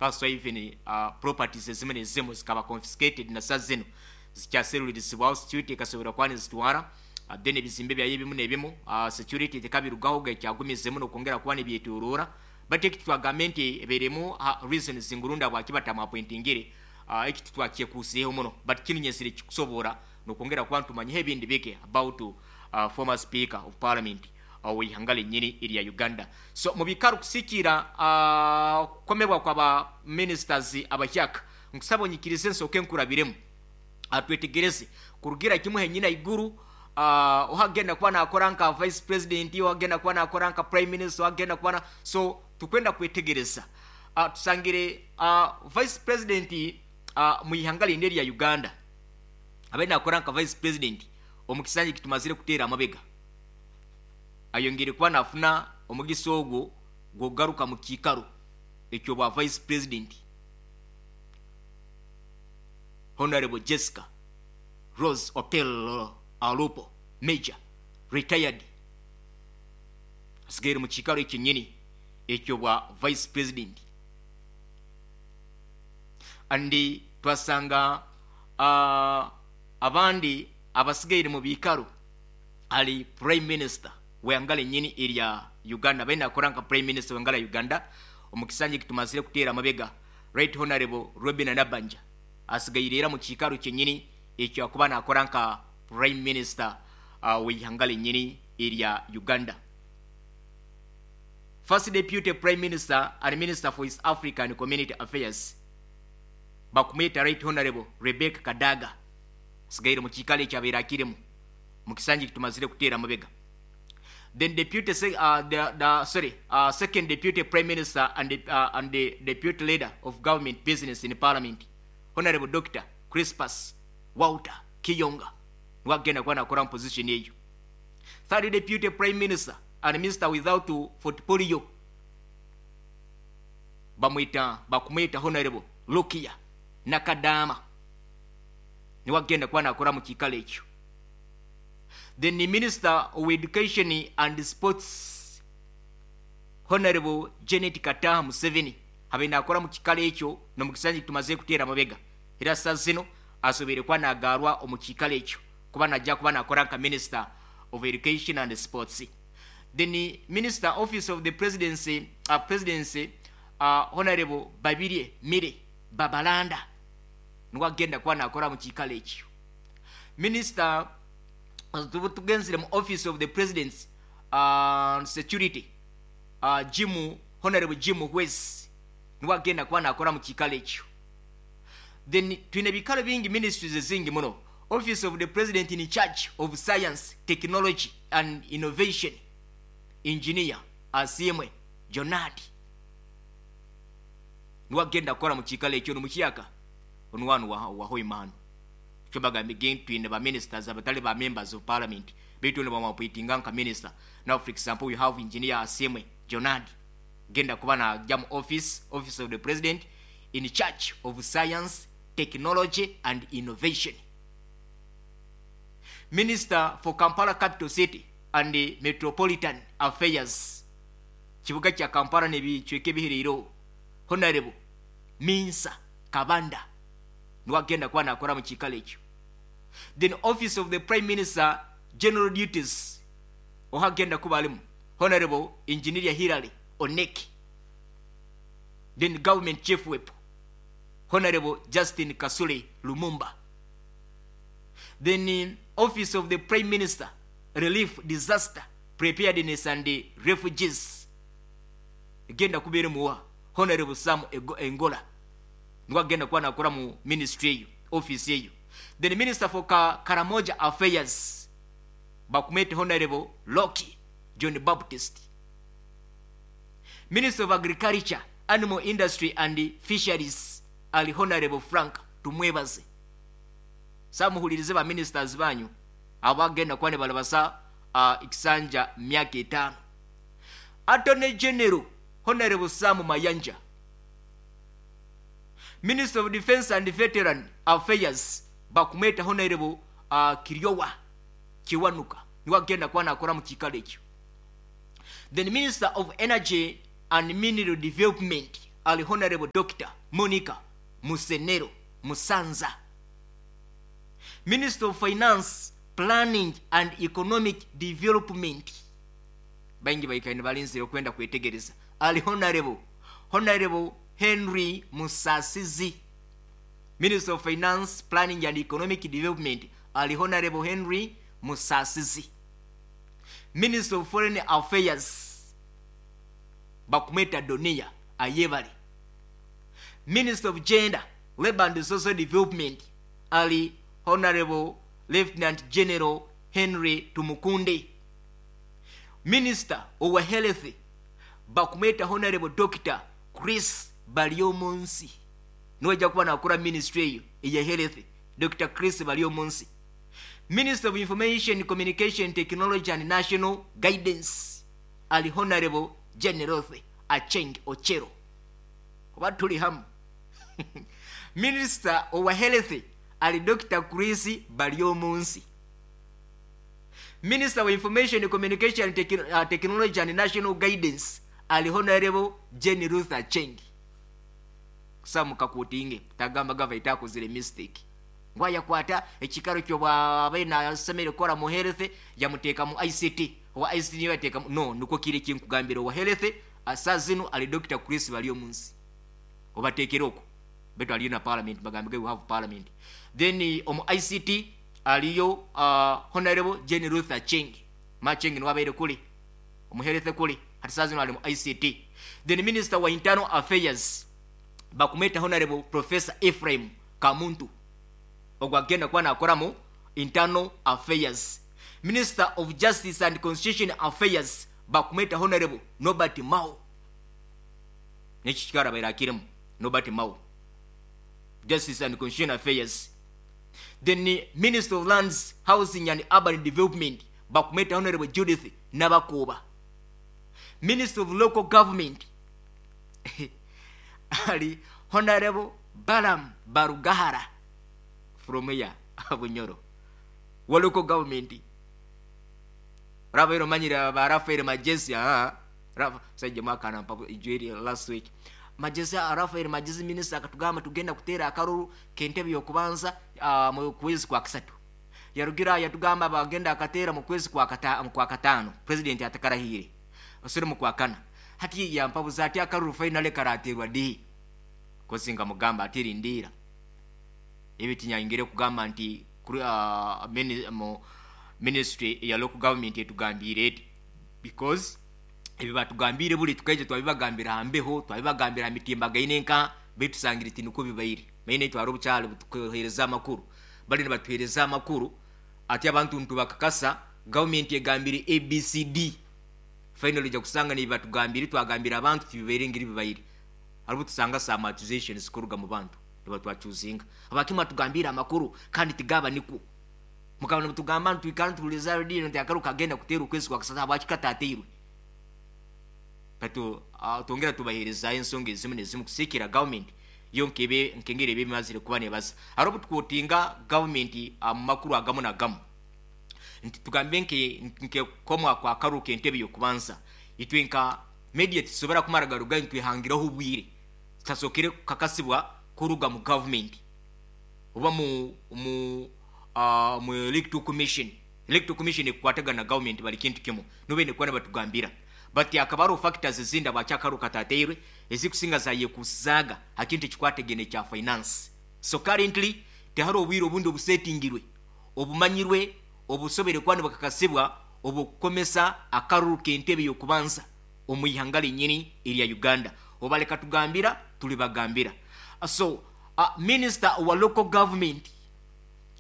That's why even properties ezimu nezimu zikaba confiscated, na saa zino zikyaserulirizibwaho, security ekasobora kuba nizitwara. Then ebizimbe byayo ebimu nebimu, security tekabirugaho, gekyagumizemu nokwongera kuba nibyetorora. But eki twagambe nti eberemu reasons ngurunda bwaki batamwappointingire. Eki titwakyekuusireho muno, but kinu nyesire kikusobora nokwongera kuba ntumanyiho ebindi bike about former Speaker of Parliament ow'ihanga lenyini erya Uganda. So mubikaro kusikira kukomebwa kwaba ministers abahyaka, nkusaba onyikirize nsooke nkurabiremu, twetegereze kurugira kimu henyina iguru, ohagenda kuba nakora nka vice president, ohagenda kuba nakora nka prime minister, ohagenda kuba na. So tukwenda kwetegereza, tusangire vice president mu ihanga lindi erya Uganda abaire nakora nka vice president omu kisanja kitumazire kuteera amabega, ayongere kuba nafuna omugisa ogwo gwokugaruka mu kiikaro ekyobwa vice president, Honorable Jessica Rose Okello Alupo, major retired, asigaire mu kiikaro ekyenyini ekyobwa vice president. And twasanga abandi abasigaire mu biikaro ali prime minister w'ihanga lenyini erya Uganda, abaine nakora nka prime minister w'ihanga lya Uganda omu kisanja ekitumazire kuteera amabega, Right Honorable Robina Nabanja, asigaire era mu kiikaro kyenyini ekyo akuba nakora nka prime minister w'ihanga lenyini erya Uganda. First deputy prime minister and minister for East African Community Affairs bakumweta Right Honorable Rebecca Kadaga, asigaire mu kiikaro ekyabaire akirimu mu kisanja ekitumazire kuteera amabega. Then deputy the sorry second deputy prime minister and the deputy leader of government business in parliament, Honorable Dr. Crispus Walter Kiyonga, niwagenda kuba nakora mu position eyo. Third deputy prime minister and minister without portfolio bamwita bakumwita Honorable Lukia Nakadama, niwagenda kuba nakora mu kiikaro ekyo. Then the minister of education and sports, Honorable Janet Kataha Museveni, habe nakora mu kikalo ekyo nomukisanja tumaze kuteera amabega, era saa zino asoboire kuba nagaarwa omu kiikaro ekyo kuba najja kuba nakora nka minister of education and sports. Then minister, office of the presidency, Honorable Babirye Milly Babalanda niwe agenda kuba nakora mu kiikaro ekyo. Minister, tugenzire mu office of the presidency, security, Jim Honorable Jim Muhwezi niwe agenda kuba nakora mu kiikaro ekyo. Then twine ebikaro bingi, ministries ezingi muno. Office of the president in charge of science, technology and innovation, Engineer Asiimwe Jonadi niwe agenda kukora mu kiikaro ekyo nomukyaka onuwanu wahoima hano. Kyo bagambe gen twine ba ministers abatali ba members of parliament, baitu ne bamwappointinga nka minister. Now, for example, we have Engineer Asiimwe Jonadi genda kuba najja mu office of the president in charge of science, technology and innovation. Minister for Kampala Capital City and Metropolitan Affairs, kibuga kya Kampala nebicweka ebihireiro, Honorable Minsa Kabanda niwe agenda kuba nakora mu kiikaro ekyo. Then office of the prime minister, general duties, ohagenda kuba alimu Honorable Engineer Hilary Onek. Then government chief whip, Honorable Justin Kasule Lumumba. Then office of the prime minister, relief, disaster preparedness and refugees, egenda kubeera muwa Honorable Sam Engola niwe agenda kuba nakora mu ministry eyo, office eyo. Then minister for Karamoja Affairs bakumwete Honorable Loki John Baptist. Minister of agriculture, animal industry and fisheries ali Honorable Frank Tumwebaze. Samuhulirize ba ministers banyu abagenda kuba ne balabasa ekisanja myaka 5. Attorney general, Honorable Sam Mayanja. Minister of defense and veteran affairs bakumweta Honorable Kiryowa Kiwanuka niwe agenda kuba nakora mu kiikaro ekyo. Then minister of energy and mineral development Ali Honorable Dr. Monica Musenero Musanza. Minister of Finance, Planning and Economic Development, baingi baikaine balinzire okwenda kwetegereza, ali Honorable Henry Musasizi. Minister of Finance, Planning and Economic Development ali Honorable Henry Musasizi. Minister of Foreign Affairs bakumweta Donia Ayebale. Minister of Gender, Labor and Social Development ali Honorable Lieutenant General Henry Tumukunde. Minister of Health bakumweta Honorable Dr. Chris Baryomunsi, niwajja kuba nakora ministry eyo eya health, Dr. Chris Baryomunsi. Minister of Information, Communication, Technology and National Guidance ali Honorable General Acheng Ochero. Oba tuli hamu? Minister of Health ali Dr. Chris Baryomunsi. Minister of Information, Communication, Technology and National Guidance ali Honorable Jane Ruth Acheng. Samukakutinge tagamba gava itakozere mistake, ngwayakwata ekikaro kyobwabe nasemere kukora mu health yamuteeka mu ICT, owa ICT niyo yateeka no nukwo kiri kinkugambira. Owa health asa zino ali Dr. Chris Baryomunsi, obateekere okwo betu aliyo na parliament, bagambe we have parliament. Then omu ICT aliyo Honorable Jane Ruth Acheng Macheng, niwabaire kuli omu health kuli, hati saa zino ali mu ICT. Then Minister wa Internal Affairs bakumweta Honorable Professor Ephraim Kamuntu, ogwo agenda kuba nakora mu Internal Affairs. Minister of Justice and Constitution Affairs bakumweta Honorable Norbert Mao, neki kikara baire akirimu Norbert Mao, Justice and Constitution Affairs. Then Minister of Lands, Housing and Urban Development bakumweta Honorable Judith Nabakuba. Minister of Local Government ali Honorable Balam Barugahara from here Bunyoro, wa local government. Rabairo manyira ba Rafael Majesi, sajja mwaka nampa ijweri last week Majesi, Rafael Majesi minister akatugamba tugenda kuteera akaruru kentebe yokubanza mu kwezi kwa kasatu. Yarugira yatugamba bagenda akateera mu kwezi kwa katano, president atakarahire osire mu kwa kana. Hati yampabuza ati akaruru finally karaterwa di kosinga mugamba ati rindira ebitinyangire kugamba nti mu ministry ya local government etugambire eti, because ebyo batugambire buli tukaije twabibagambira hambeho, twabibagambira mitimbagaine nka betusangire tinuko bibaire maine twari obukyalo butukohereza amakuru, bali nibatuhereza amakuru ati abantu ntubakakasa government egambire ABCD. Finally ja kusanga ni batugambire twagambira abantu tibibaire ngiri bibaire, haribo tusanga some accusations kuruga mu bantu nibatwachuzinga abakima tugambira amakuru kandi tigaba niku mukabona mutugamba ntwikana tuliza radio nti akaruka agenda kutera ukwezi kwa kasata abakikatateirwe batu tongera tubahereza ensonga ezimu nezimu kusikira government yo nkebe nkengere bimazire kuba nebaza haribo tukotinga government mu makuru agamu nagamu nti tugambe nke komwa kwa karuka entebe yokubanza itwe nka media tisobora kumara garuga ntwihangiraho obwire tasokere kakasibwa kuruga mu government oba mu Electoral Commission. Electoral Commission ekwatagana na government bali kintu kimu nube ne kwana batugambira but akabaro factors zinda bakyakaruka tateirwe ezikusinga zaye kuzaga akintu kikwategene kya finance. So currently teharo obwire obundi obusetingirwe obumanyirwe obusobere kwani bakakasibwa obukomesa akaruru kentebe yokubanza omuyihanga linyini erya Uganda obaleka tugambira tulibagambira. So Minister wa Local Government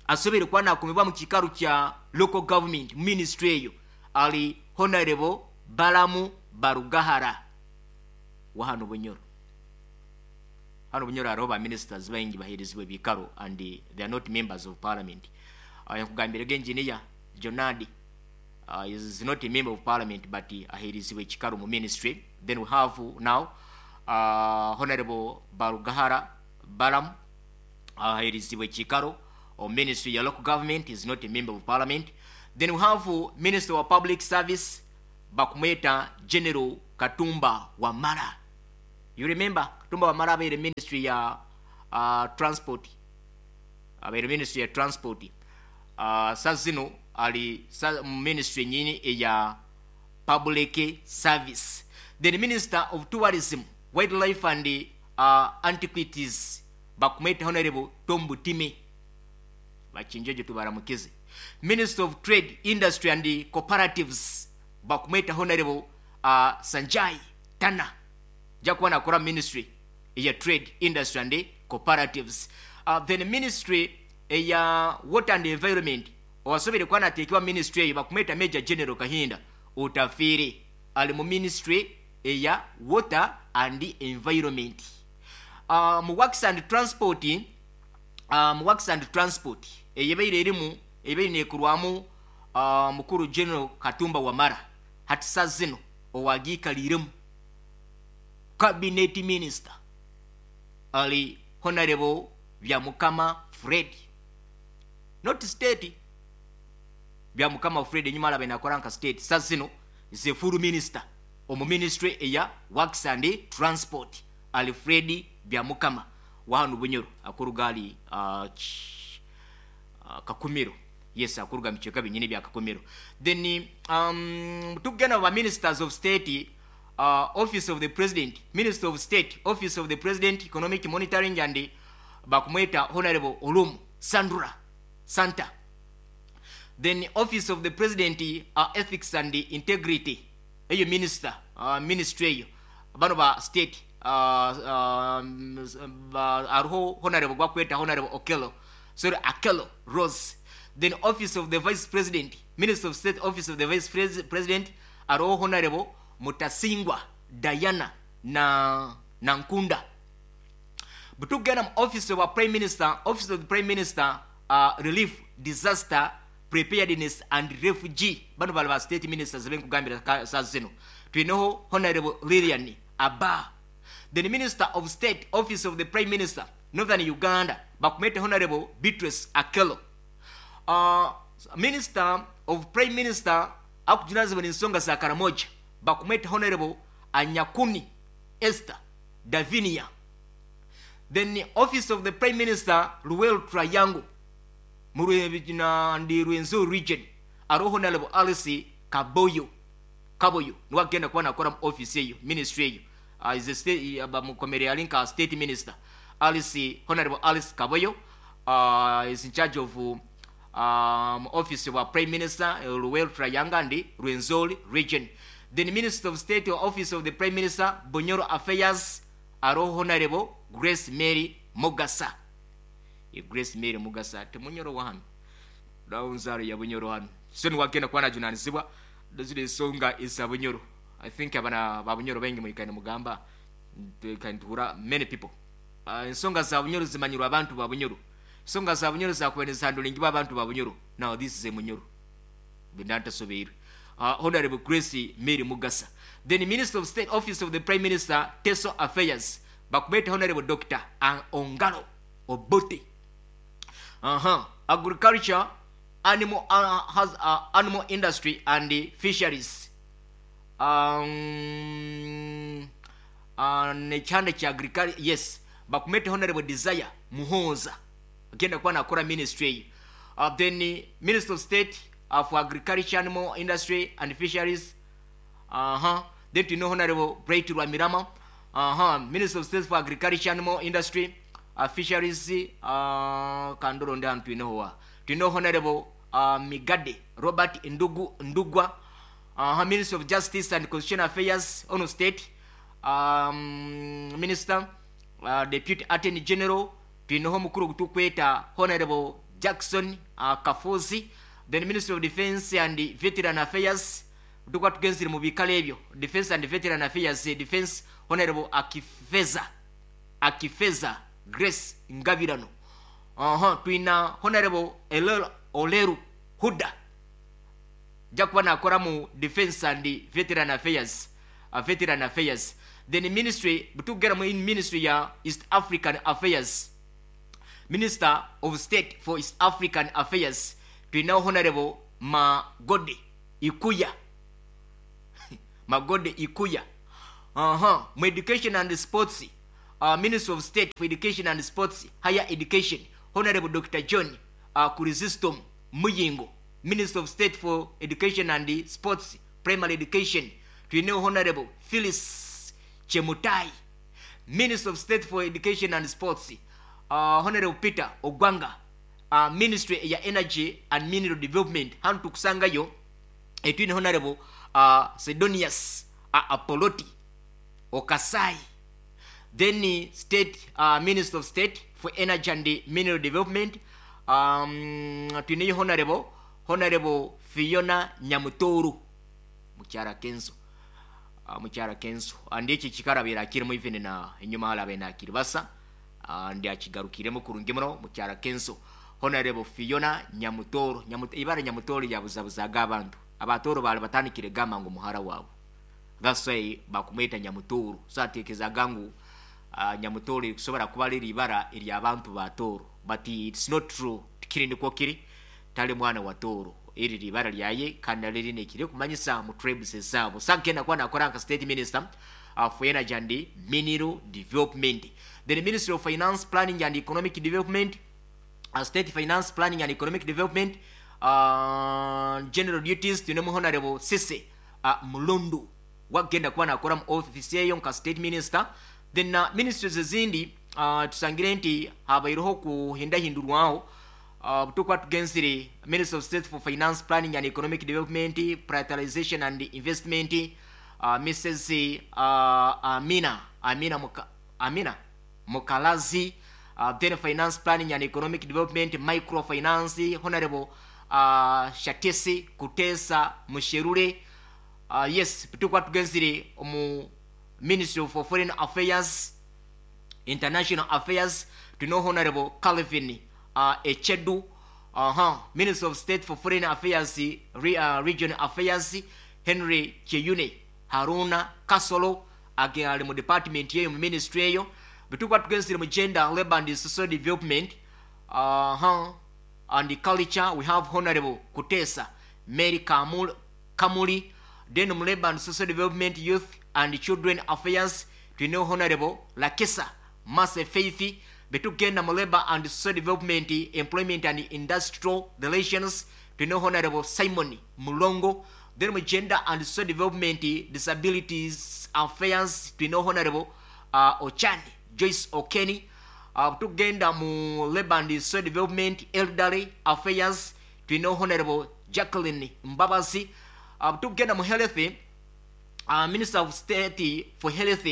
asobere kwana akomebwa mu kikaru kya local government ministry eyo ali Honorable Balamu Barugahara wa hano Bunyoro. Hano Bunyoro hariho ba ministers baingi baherezibwe bikaro and they are not members of parliament. Yakugambire engineer Jonadi is not a member of parliament but aherezibwe kikaro mu ministry. Then we have now Honorable Barugahara Balam aherezibwe kikaro or ministry ya local government, is not a member of parliament. Then we have Minister of Public Service bakumweta General Katumba Wamala. You remember Katumba Wamala abaire ministry ya transport, abaire ministry ya transport. Sa zino ali sa ministry nyini eya public service. Then Minister of Tourism, Wildlife and Antiquities bakumweta Honorable Tom Butime. Bakinjeje, tubaramukize. Minister of Trade, Industry and Cooperatives bakumweta Honorable Sanjay Tana, jakuba nakora ministry eya Trade, Industry and Cooperatives. Then ministry eya Water and Environment, owasobere kuba nateekebwa ministry eyo bakumweta Major General Kahinda Otafiire, ali mu ministry eya Water and Environment. Mu Works and Transport, mu Works and Transport eyebaire erimu ebaire nekurwamu mukuru General Katumba Wamara, hati sa zino owagiikaliremu cabinet minister ali Honorable Byamukama Fred, not state. Byamukama Fred enyuma alabe nakora nka state, sa zino ze full minister omu ministry eya Works and Transport ali Fred Byamukama wahanu Bunyoro, akuruga ali Kakumiro. Yes, akuruga mukiika binyini bya Kakumiro. Then tugenda ba ministers of state, Office of the President, Minister of State, Office of the President, Economic Monitoring and bakumweta Honorable Olum Sandra Santa. Then Office of the President, Ethics and Integrity, eyo minister, ministry eyo bano ba state, aruho Honorable gwakweta Honorable Okello, sorry, Akelo Rose. Then Office of the Vice President, Minister of State, Office of the Vice President, aruho Honorable Mutasingwa Diana na Nankunda. Butugenda mu Office of Prime Minister, Office of the Prime Minister, Relief, Disaster Preparedness and Refugee, bano bali ba state ministers benkugambira saa zino, tulineho Honorable Lilian Aba. Then Minister of State, Office of the Prime Minister, Northern Uganda bakumete Honorable Beatrice Akelo. Minister of Prime Minister akujunazibwa ensonga za Karamoja bakumete Honorable Anyakuni Esther Davinia. Then Office of the Prime Minister, Luweero Triangle ndi Rwenzori region, ariho Honorable Alice Kaboyo. Kaboyo niwe agenda kuba nakora mu office eyo, ministry eyo. Is a state, bamukomere ali nka state minister. Alice, Honorable Alice Kaboyo is in charge of Office of Prime Minister, Luweero Triangle and Rwenzori region. Then Minister of State, Office of the Prime Minister, Bunyoro Affairs, ariho Honorable Grace Mary Mugasa. E Grace Mary Mugasa temunyoro wahano, daunzaro ya Bunyoro hano, so niwagenda kuba najunanizibwa ziri ensonga eza Bunyoro. I think abana ba Bunyoro baingi mwikane mugamba kantuhura many people. Ensonga za Bunyoro zimanyirwa abantu ba Bunyoro, ensonga za Bunyoro zakuba nizihandulingibwa abantu ba Bunyoro. Now this is a Munyoro bindantasobeirwe, Honorable Grace Mary Mugasa. Then Minister of State, Office of the Prime Minister, Teso Affairs bakumete Honorable Dr Ongalo Obote. Agriculture, Animal, has, Animal Industry and Fisheries, nekyanda kya agriculture, yes, bakumete Honorable Desire Muhonza, agenda kuba nakora ministry eyo. Then Minister of State for Agriculture, Animal Industry and Fisheries. Then tulina Honorable Bright Rwamirama. Minister of State for Agriculture, Animal Industry, Fisheries. Kandoro ndi hantu tulinaho wa tulina Honorable Migade Robert Ndugu Ndugwa. Minister of Justice and Constitutional Affairs, ono state minister, Deputy Attorney General, tulinaho omukuru gutukweta Honorable Jackson Kafuzi. Then Minister of Defense and Veteran Affairs, tukuba tugenzire mu bikalo ebyo, Defense and Veteran Affairs, Defense, Honorable Akifeza Grace Ngabirano. Tulina Honorable Elel Oleru Huda, jakuba nakora mu Defense and Veteran Affairs, Veteran Affairs. Then ministry butugera mu ministry ya East African Affairs, Minister of State for East African Affairs, tulina Honorable Magode Ikuya. Magode Ikuya. Mu education and sports, Minister of State for Education and Sports, Higher Education, Honorable Dr. John Chrysostom Muyingo. Minister of State for Education and Sports, Primary Education, twineho Honorable Phyllis Chemutai. Minister of State for Education and Sports, Honorable Peter Ogwanga. Ministry ya Energy and Mineral Development, hanu tukusangayo etwine Honorable Sidonius Apoloti Okasai. Then State Minister of State for Energy and Mineral Development, twineyo Honorable Fiona Nyamutoru, mukyara Kenzo, mukyara Kenzo. Andi eki kikarabira akirimu, even na enyuma halabe nakiri basa, ndi akigarukiremu kurungi muno mukyara Kenzo. Honorable Fiona Nyamutoro. Ibara Nyamutoro yabuzabuzaga abantu. Abatoro bali batandikire gamba ngu muhara waabo, that's why bakumweta Nyamutoro. So atekezaga ngu Nyamutoro kusobora kuba liri ibara ery'abantu ba Toro, but it's not true. Tikiri nikwo kiri, tali mwana wa Toro. Eri libara lyaye kandi liri nekiri kumanyisa mu tribes ezaabo. Sagenda kuba nakora nka State Minister for Energy and Mineral Development. Then Ministry of Finance, Planning and Economic Development, State Finance, Planning and Economic Development, general duties, tunemu Honorable Sise Mulundu, wagenda kuba nakora mu office eyo nka State Minister. Then ministries ezindi, tusangire nti habaireho kuhindahindurwaho. Tukuba tugenzire Minister of State for Finance, Planning and Economic Development, Prioritization and Investment, Mrs. Amina Mukalazi. Then Finance, Planning and Economic Development, Microfinance, Honorable Shatesi Kutesa Musherure. Yes, tukuba tugenzire omu Ministry for Foreign Affairs, International Affairs, tuno Honorable Calvin Echedu. Minister of State for Foreign Affairs, Region Affairs, Henry Cheyune Haruna Kasolo, ali mu department yeyo, mu ministry eyo. Bitukuba tugenzire mu Gender, Labor and Social Development and Culture, we have Honorable Kutesa Mary Kamuli. Then mu Labor and Social Development, Youth and Children Affairs, twine Honorable Lakesa Mase Faith. Betugenda mu Labor and Social Development, Employment and Industrial Relations, twine Honorable Simon Mulongo. Then mu Gender and Social Development, Disabilities Affairs, twine Honorable Ochani Joyce Okeni. Tugenda mu Labor and Social Development, Elderly Affairs, twine Honorable Jacqueline Mbabazi. Tugenda mu Health, Minister of State for Health,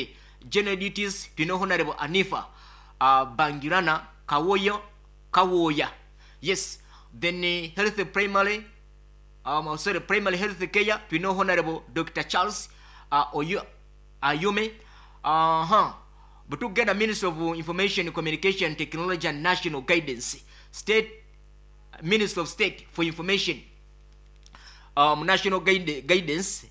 General Duties, twine Honorable Anifa Bangirana Kawoyo Kawoya. Yes, then Health Primary, sorry, Primary Health Care, twine Honorable Dr. Charles Oyo Ayume. Butugenda Minister of Information, Communication, Technology and National Guidance, State Minister of State for Information, National Guidance,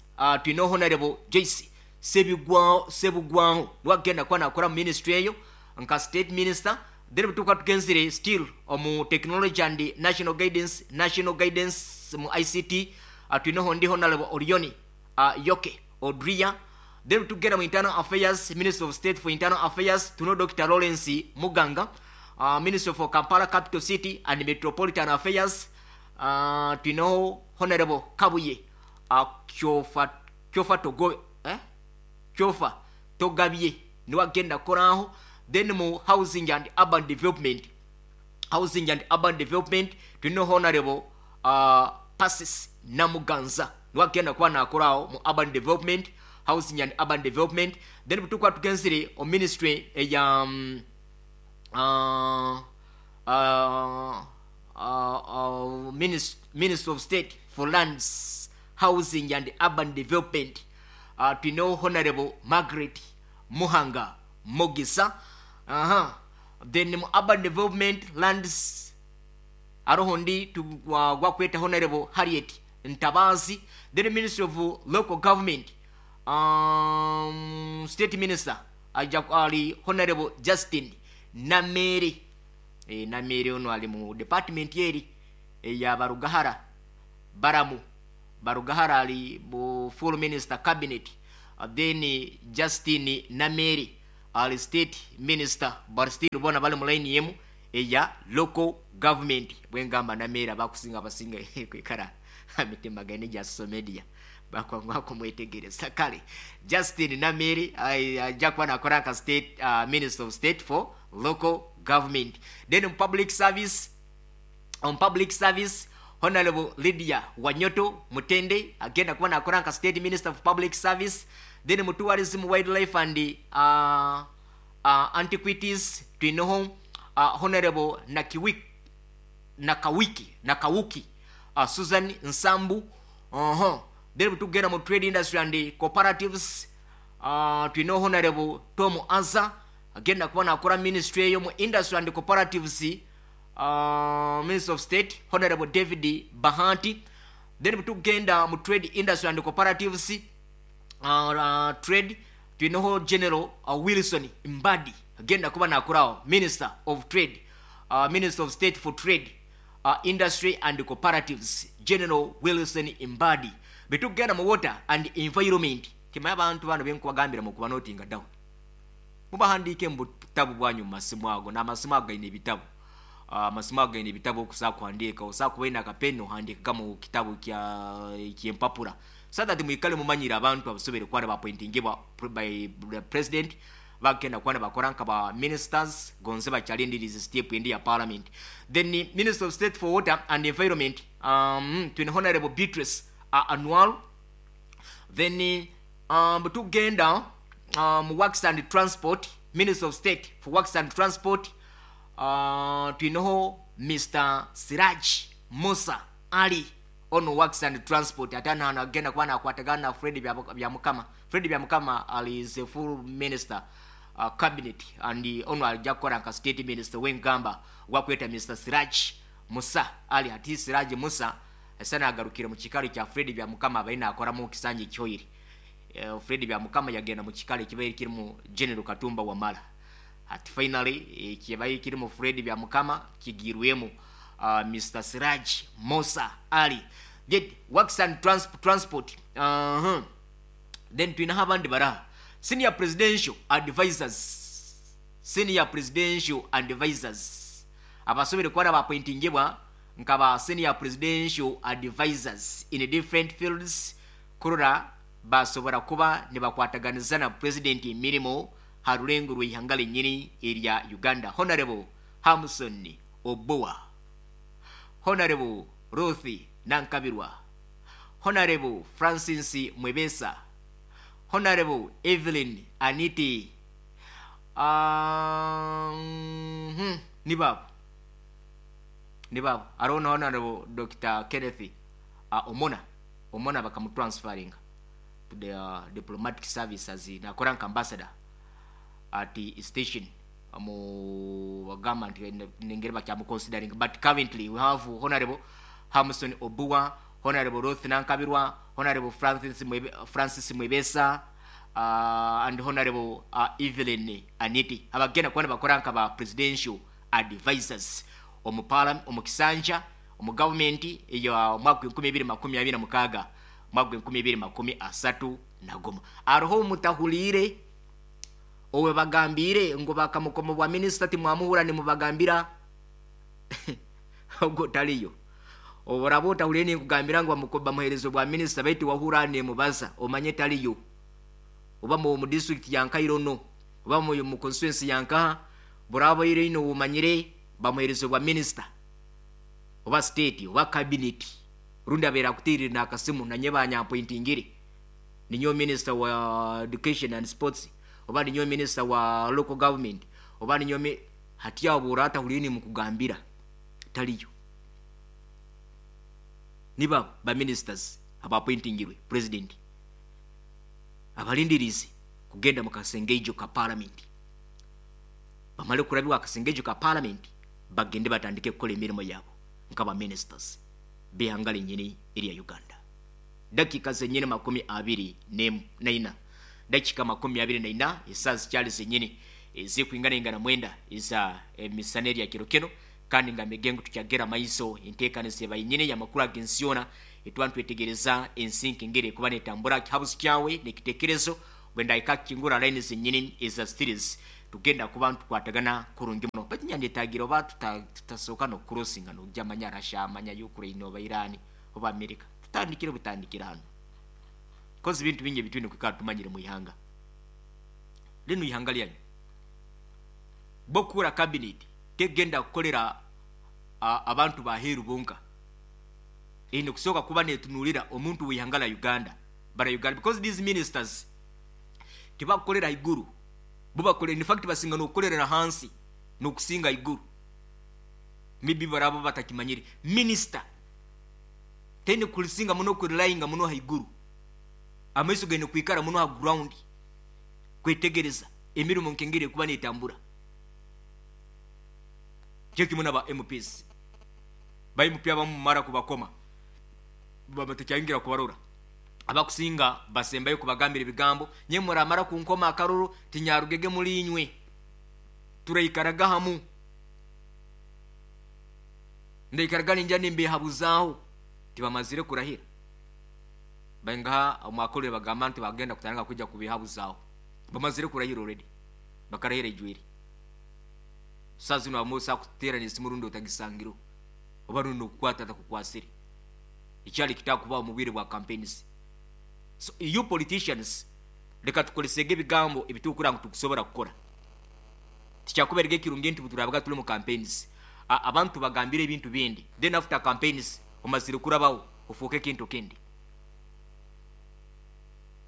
twine Honorable Joyce Sebugwaho, wagenda kuba nakora mu ministry eyo nka State Minister. Then butuka tugenzire still omu Technology and National Guidance mu ICT, twineho ndi Honorable Orioni Yoke Odria. Then tugenda mu Internal Affairs, Minister of State for Internal Affairs, tuno Dr. Lawrence Muganga. Minister for Kampala Capital City and Metropolitan Affairs, twinaho Honorable Kabuye Kyofa Togo, eh? Kyofa Togabye, niwe agenda koraho. Then mu Housing and Urban Development, Housing and Urban Development, tulina Honorable Pasis Namuganza, niwe agenda kuba nakoraho mu Urban Development, Housing and Urban Development. Then butukuba tugenzire o ministry eya Minister of State for Lands, Housing and Urban Development, tulina Honorable Margaret Muhanga Mugisa. Then mu Urban Development, Lands, aroho ndi gwakweta Honorable Harriet Ntabazi. Then Ministry of Local Government, State Minister aja ali Honorable Justin Namere. Namere ono ali mu department yeri eya Barugahara, Baramu Barugahara, ali bu full minister cabinet. Then Justin Namere ali state minister, but still bona bali mu line yemu eya local government. Bwengamba Namere, abakusinga abasinga kwikara mitima gane gya social media bakwangwa kumwetegereza. Kale Justin Namere ajja kuba nakola nka state minister of state for local government. Then on public service, on public service, Honorable Lydia Wanyoto Mutende agenda kuba nakola nka state minister of public service. Then mu tourism, wildlife and antiquities twinoho Honorable Nakiwik Nakawiki Nakawuki Susan Nsambu. Then tugenda mu trade industry and cooperatives, twinoho Honorable Tom Aza agenda kuba nakola ministry eyo. Mu industry and cooperatives, minister of state Honorable David Bahanti. Then tugenda mu trade industry and cooperatives, trade, twinoho General Wilson Mbadi agenda kuba nakolawo minister of trade, minister of state for trade, industry and cooperatives, General Wilson Mbadi. Betugenda mu water and environment, timaye abantu bano benkubagambira mu kubanotinga down, mubahandiike mu butabu bwanyu mu masimu ago, n'amasimu ago gaine ebitabo, amasimu ago gaine ebitabo okusobola kuhandiika. Osobola kuba ina akapeni ohandiika mu kitabu kya kyempapula so that mwikale mumanyire abantu abasobere kuba bapointingibwa by the president bagenda kuba bakora nka ba ministers gonze bakyalindiriza step endi ya parliament. Then minister of state for water and environment, twine Honorable Beatrice Anwar. Then tugenda works and transport, minister of state for works and transport, twinoho Mr Siraj Musa Ali ono works and transport. Ate ano agenda kuba nakwatagana na Fred Byamukama. Fred Byamukama ali is a full minister, cabinet, and ono ajja kukola nka state minister wengamba gwakweta Mr Siraj Musa Ali. Ati Siraj Musa esana agarukire mu kikalo kya Fred Byamukama abaina akora mu kisanja kyoyiri. Fred Byamukama yagenda mu kikalo ekibaire kirimu General Katumba Wamala. Ati finally ekibaire kirimu Fred Byamukama kigirwemu Mr Siraj Musa Ali. Get works and transport. Then twina abandi bara senior presidential advisors, senior presidential advisors abasobere kuba bapointingibwa nka ba senior presidential advisors in different fields kurora basobora kuba nibakwataganiza na president emirimu ha rulengo rw'ihanga lenyini erya Uganda. Honorable Hamson Oboa, Honorable Ruth Nankabirwa, Honorable Francis Mwebesa, Honorable Evelyn Aniti. Nibabo nibabo arona Honorable Dr. Kenneth Omona, Omona bakamutransferinga to the diplomatic service as nakora nka ambassador at the station mu bagamba nti nengeri bakyamuconsidering. But currently we have Honorable Hamson Obua, Honorable Ruth Nankabirwa, Honorable Francis Mwebesa, and Honorable Evelyn Aniti abagenda kuba bakora nka ba presidential advisors omu parliament, omu kisanja, omu government eyo mwaka 2026 mwaka 2031. Aroho mutahulire owe bagambire ngo bakamukoma bwa minister timwamuhura nimubagambira ogwo taliyo. Oboraba otahulire ninkugambira ngu bamuherezo bwa minister baitu wahura nemubaza omanye taliyo, oba mu district ya Nkairono oba mu constituency ya Nkaha, boraba ire ino umanyire bamuherezo bwa minister oba state oba cabinet rundi abera kutirira nakasimu nanye banyampointingire ninyo minister wa education and sports oba ninyo minister wa local government oba ninyo hatia obura atahulire nimukugambira taliyo. Niba ba ministers abapointingirwe president abalindirizi kugenda mu kasengejo ka parliament, bamale kulabiwa akasengejo ka parliament bagende batandike kukola emirimu yabo nka ba ministers bihanga lenyini erya Uganda. Dakika zenyini 24, dakika 24 esaa zikyali zenyini ezikuingana mwenda eza emisana erya kiro kino, kandi nga migengo tukyagera maiso enteekaniza ebayinyini yamakulu ag'ensi yona. Etwa ntwetegereza ensi nkengeri ekuba netambura. Kihabuzi kyawe nekitekerezo bwendahika kukingura line zenyini eza series, tugenda kuba ntukwatagana kurungi muno. Baitu nyandetagira oba tutasooka nokucrossinga nojja manya Russia, manya Ukraine oba Iran oba America. Tutandikire butandikira hano, kozi bintu bingi ebitwine kwikara tumanyire mu ihanga lino, ihanga lyanyu. Bokukura cabinet tegenda kukolera abantu baheru bonka, ine kusooka kuba netunulira omuntu w'ihanga la Uganda, bara Uganda, because these ministers tibakukolera iguru, bo bakolera, in fact basinga n'okukolerera hansi n'okusinga iguru. Maybe baraba batakimanyire, minister tene kulisinga muno kurelyinga muno haiguru, amaiso gaine kwikara muno ha ground kwetegereza emirimu nkengeri ekuba netambura. Kyo kimu naba MPs. Ba MP abamu mumara kubakoma baba kubarora, abakusinga basembayo kubagambira ebigambo, nye muramara kunkoma akaruru tinyarugege muri inywe, turaikaraga hamu, ndaikaraga ninja nimbehabuzaho. Tibamazire kurahira, baingaha omwakolere bagamba nti bagenda kutandika kujja kubihabuzaho. Bamazire kurahira already, bakarahira ijwiri. Saa zino amusa kuterana esimu rundi otagisangiro oba rundi okukwata atakukwasire, ekyali kitakubaho mu bwire bwa campaigns. So you politicians, leka tukolesege ebigambo ebitukura ngu tukusobora kukora. Tikyakuberega ekirungi nti turabaga tuli mu campaigns, abantu bagambire ebintu bindi, then after campaigns omazire kurabaho ofuuke ekintu kindi.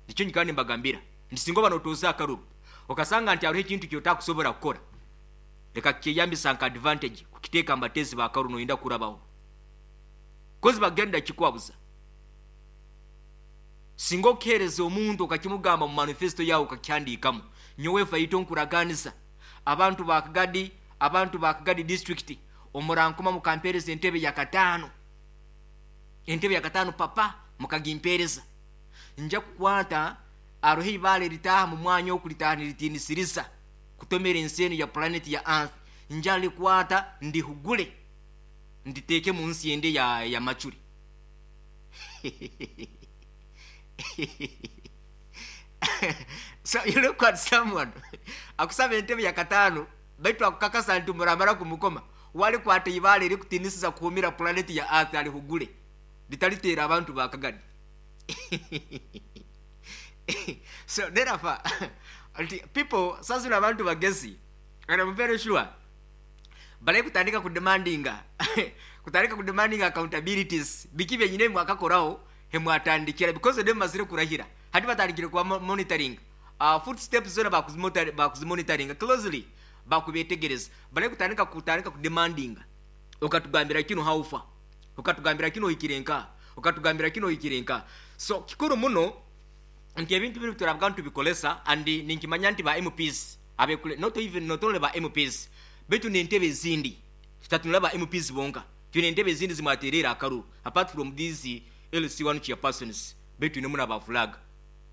Nikyo nyikara nimbagambira nti singa oba notoza akaruru okasanga nti hariho ekintu kyotakusobora kukora, leka kyeyambisa nka advantage kukiteeka mbatezi bakaruru noyenda kurabaho, kozi bagenda kikwabuza. Singa okihereza omuntu okakimugamba mu manifesto yawe okakihandikamu, nyowe faito nkuraganisa abantu ba Kagadi, abantu ba Kagadi district, omurankoma mukampereza entebe ya katano, entebe ya katano papa mukagimpereza, nja kukwata aroho ibale ritaha mu mwanya okulitaha niritinisiriza kutomera ensi eno ya planet ya earth, nja likwata ndihugule nditeeke mu nsi ende ya macuri. So you look at someone akusaba entebe ya katano, baitu akukakasa nti muramara kumukoma walikwata ibale rikutinisiza kuhumira planet ya earth alihugule litalitera abantu ba Kagadi. So therefore people sasa abantu bagezi, and I'm very sure bale kutandika kudemandinga kutandika kudemandinga accountabilities, biki byenyine mwakakoraho hemwatandikira, because dem mazire kurahira hati batandikire kwa monitoring footsteps zona bakuzimonitoringa closely, bakubetegereza. Bale kutandika kudemandinga, okatugambira kino haufa, okatugambira kino ikirenka, okatugambira kino ikirenka. So kikuru muno nti ebintu biri turavuga ntubikolesa, and ninkimanya nti ba MPs abekule, not even not only ba MPs, betu n'entebe ezindi, tutatunula ba MPs bonka, tune entebe ezindi zimwaterera akaruru apart from these LC1 chairpersons, betu ne muna ba flag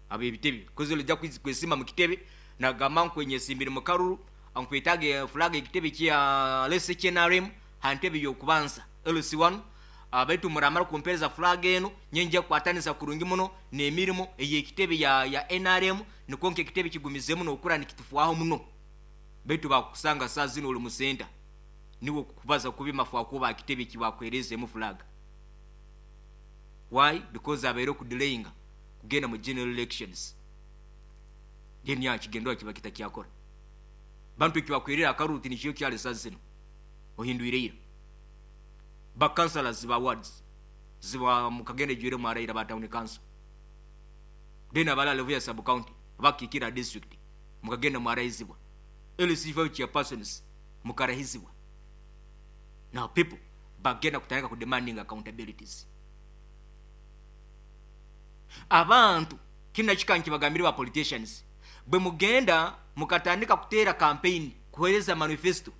abe ebitebe kozi olija kwesima mu kitebe nagamba nkwenye simbiri mu karuru ankwetage flag ekitebe kya lese KNRM hantebe yokubanza LC1, abetu muramara kumpereza flag eno nyenja kwatanisa kurungi muno n'emirimu ey'ekitebe ya NRM, niko nke ekitebe kigumizemu n'okura nikitufuaho muno. Betu bakusanga saa zino oli musenta niwo kubaza kubi mafu akuba ekitebe kibakwereze mu flag. Why? Because abaire kudelayinga kugenda mu general elections, then ya kigendo kiba kitakyakora bantu kibakwerera akaruti nikiyo kyale saa zino ohindwire ba councillors ba wards ziba mukagende jwire mwaraira ba town council, then abala level ya sub county bakikira district mukagenda mwaraizibwa LC5 chairpersons mukarahizibwa. Now people bagenda kutandika ku demanding accountabilities. Abantu kina kikanki bagambire ba politicians, bwe mugenda mukatandika kutera campaign kuhereza manifesto,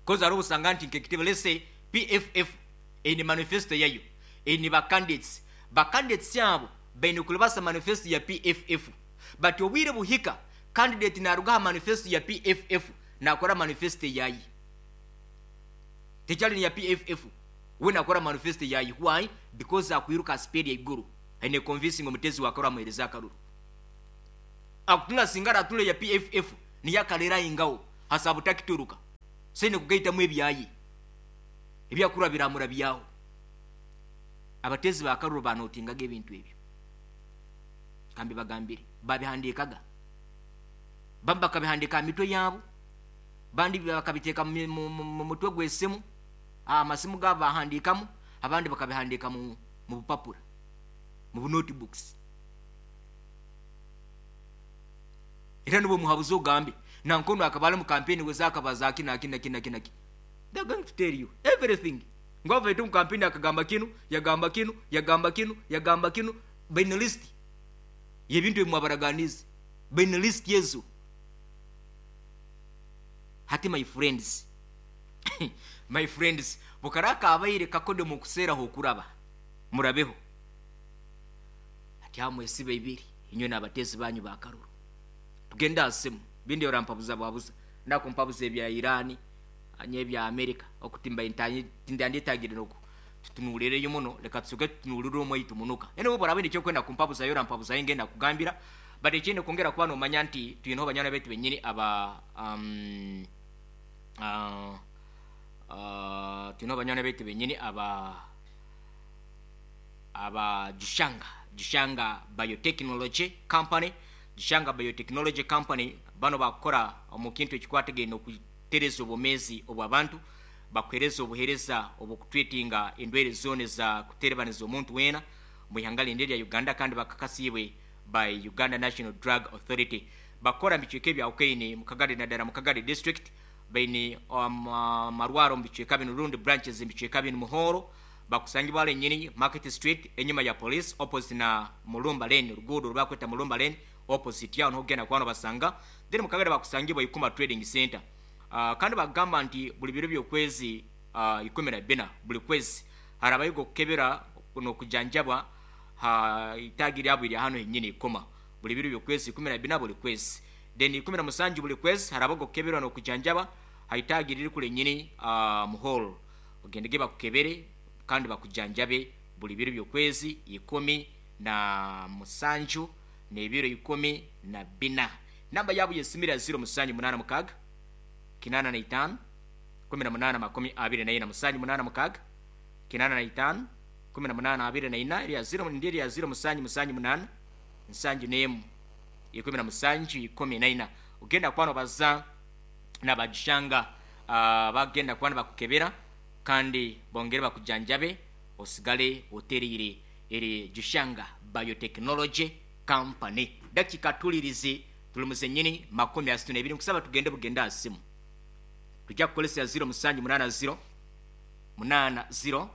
koza arubu sanga nti nkekitebe, let's say PFF eni manifesto yayo eni ba candidates, ba candidates yabo baine kulibasa manifesto ya PFF, but obwire buhika candidate naruga manifesto ya PFF nakora manifesto yayi tekyali ni ya PFF. We nakora manifesto yayi. Why? Because akwiruka speed ya iguru, aine convincing omutezi wakora amuhereza akaruru. Akutuna singara atule ya PFF niyakalera ingao hasabu takituruka sene kugaitamu ebyayi ebyakura biramura byaho. Abatezi bakaruru banotingaga ebintu ebyo, kambi bagambire babihandikaga, bamba kabihandika mitwe yabo, bandi bakabiteka mu mutwe gw'esimu, amasimu gabo bahandikamu, abandi bakabihandika mu bupapura, mu notebooks. Era nibo muhabuzi ogambe nankono akabala mu campaign wezaka bazaki na kina kina kina. They're going to tell you everything. Ngwava itu mu campaign akagamba kinu, yagamba kinu, yagamba kinu, yagamba kinu, baina list yebintu ebimwabaraganize, baina list yezo. Hati my friends, my friends, bukaraka abaire kakode mu kusera hokuraba murabeho. Hati hamwe sibe ibiri inywe n'abatezi banyu bakaruru. Tugenda asimu bindi orampabuza bwabuza ndakumpabuza ebya Irani anye ebya America okutimba intanyi tindanditagire noku tutunulireyo muno, leka tusuke tutunulire omwaitu munuka. Ene bo barabene cyo kwenda kumpabuza yo rampabuza ingenda kugambira, but ekindi kongera kuba nomanya nti tuyino banyana betu benyini aba tuyino banyana betu benyini aba Gishanga Biotechnology Company. Gishanga Biotechnology Company bano bakora omu kintu ekikwatagene okutereza obumezi obw'abantu, bakuhereza obuhereza obukutreatinga endwere zone za kuterebaniza omuntu wena mu ihanga lindi lya Uganda, kandi bakakasibwe by Uganda National Drug Authority. Bakora mbichweke bya Ukaine mukagari na dara mukagari district baine marwaro mbichweka bino rundi branches mbichweka bino muhoro bakusangibwa wale nyini Market Street enyuma ya police opposite na Mulumba Lane, rugudo rwakweta Mulumba Lane opposite yao nogenda kwano basanga. Then mukagari bakusangibwa Ikuma Trading Center. Kandi bagamba nti buli biro by'okwezi 14 buli kwezi harabayo kukebera no kujanjabwa ha itagiri abo iri hano nyine Ikoma buli biro by'okwezi 14 buli kwezi. Then 17 buli kwezi harabago kukebera no kujanjaba ha itagiri iri kule nyine muhol ogendege bakukebere kandi bakujanjabe buli biro by'okwezi 17 n'ebiro 14. Namba yabo yesimira 0786 85 18 24 786 85 18 24 ya 0 ndiri ya 0 7 7 8 7 17 14. Ugenda kwano baza na bajishanga bagenda kwano bakukebera kandi bongere bakujanjabe osigale oterire eri Gishanga Biotechnology Company. Dakika tulirize tulumuze nyini 32 nkusaba tugende bugenda asimu. Tujja kukolesa 0 7 8 0 8 0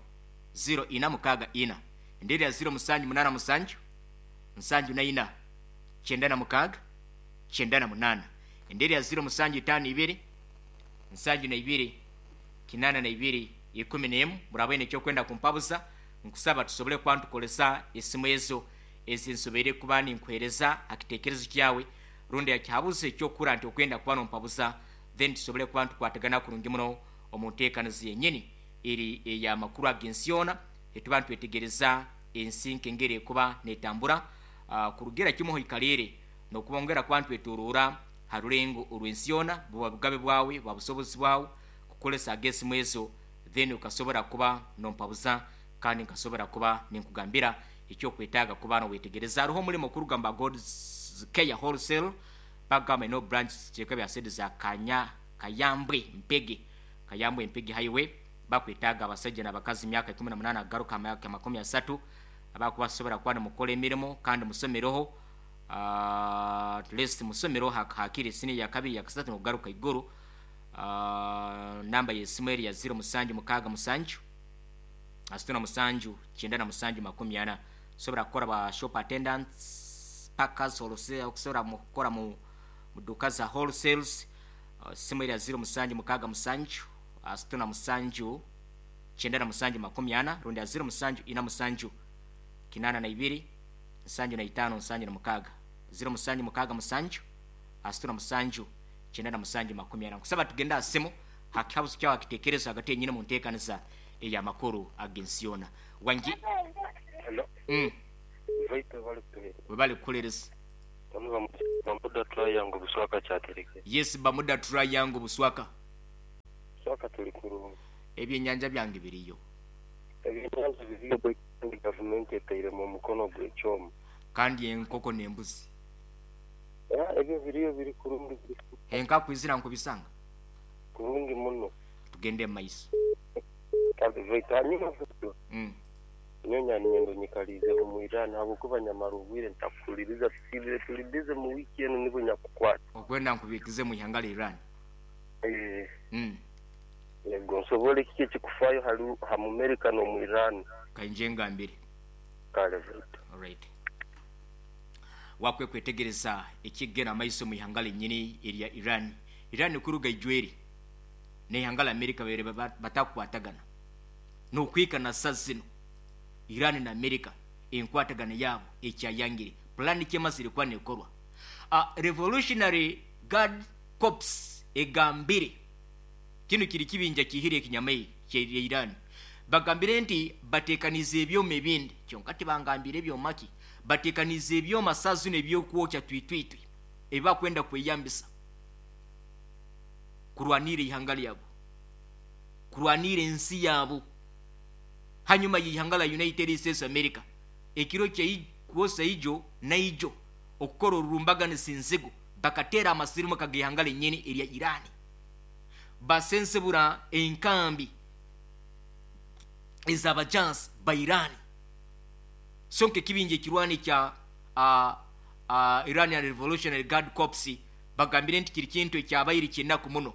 0 ina mukaga ina. Ndiri ya 0 7 8 7 7 9 96 98. Ndiri ya 0 7 5 2 7 2 8 2 11. Murabene cyo kwenda kumpabuza nkusaba tusobole kwantu kolesa esimu ezo ezinsobere kuba ninkwereza akitekerezo kyawe rundi yakihabuze cyo kura nti okwenda kuba nompabuza, then tusobole kuba tukwatagana kurungi muno omunteekanizi yenyini eri eya makuru agensiona etuba ntwetegereza ensi nkengere kuba netambura kurugera kimuho ikalere nokubongera kuba ntwetorora harulengo olwensiona buba bugabe bwawe babusobozi bwawe kukolesa agesimu ezo, then ukasobora kuba nompabuza kandi nkasobora kuba ninkugambira ekyo kwetaaga kuba nowetegereza. Hariho omulimo kurugamba God's Care Wholesale bagamba ino branch kyeka bya sedi za Kanya Kayambwe Mpege, Kayambwe Mpege Highway. Bakwetaaga abasajja n'abakazi myaka 18 agaruka myaka 30 abakubasobora kuba mukora emirimo kandi musomeroho at least musomero hakiri sini ya kabiri ya kasatu n'okugaruka iguru. Namba y'esimu eri ya 0 7 6 7 7 97 40. Sobora kukora ba shop attendants, packers, wholesale, okusobora mukora mu duka za wholesales. Simu eri ya 0 7 6 7 97 40 rundi ya 0 7 4 7 82 75 76 0 7 6 7 97 40. Kusaba tugenda asimu hakihabuzo kyawe akitekerezo hagati yenyine mu nteekaniza Ey'amakuru ag'ensi yoona. Wangi. Hello. Vaito bali kutuheereza. Webale kukulereza. Bano Bamuda Triangle Buswaka Kyatereke. Yes, Bamuda Triangle Buswaka. Buswaka tuli kurungi. Ebyenyanja byange biriyo. Ebyenyanja biriyo bwe gavumenti etairemu omukono gw'ekyoma. Kandi enkoko n'embuzi. Ya, ebyo biriyo biri kurungi. Enka kwizira nkubisanga. Kurungi muno. Tugende mu maiso. Kandi Vaito hanyuma Vaito. Nyonya ninyendo nyikalize omu Iran habwokuba nyamara obwire ntakuhuliriza tusibire tuli busy mu wiki enu nibwo nyakukwata. Okwenda nkubikize mu ihanga lya Iran. Yego nsobole kiki ekikufayo hali ha mu America n'omu Iran. Kainje ngambire. Kale Vaito. Alright. Wakwe kwetegereza ekigenda amaiso mu ihanga lyenyini erya Iran. Iran kuruga ijweri n'ihanga la America bere batakwatagana. N'okwika na saa zino Iran na America enkwatagana yabo ekyayangire. Plan kyemazire kuba nekorwa. Revolutionary Guard Corps egambire kino kiri kibinja kihire ekinyamai kya Iran. Bagambire nti batekanize ebyoma ebindi, kyonka tibangambire ebyoma ki, batekanize ebyoma saa zino ebyokwokya twitwitwi ebibakwenda kweyambisa kurwanira ihanga lyabo, kurwanira ensi yabo. Hanyuma y'ihanga la United States America ekiro kwosa ijo naijo okukora orurumbaganisa enzigo bakatera amasirimu kagihanga lenyini erya Iran, basensebura enkambi ez'abajansi ba Iran. Sonke ekibinja ekirwani kya Iranian Revolutionary Guard Corps bagambire nti kiri kintu ekyabaire kyenaku muno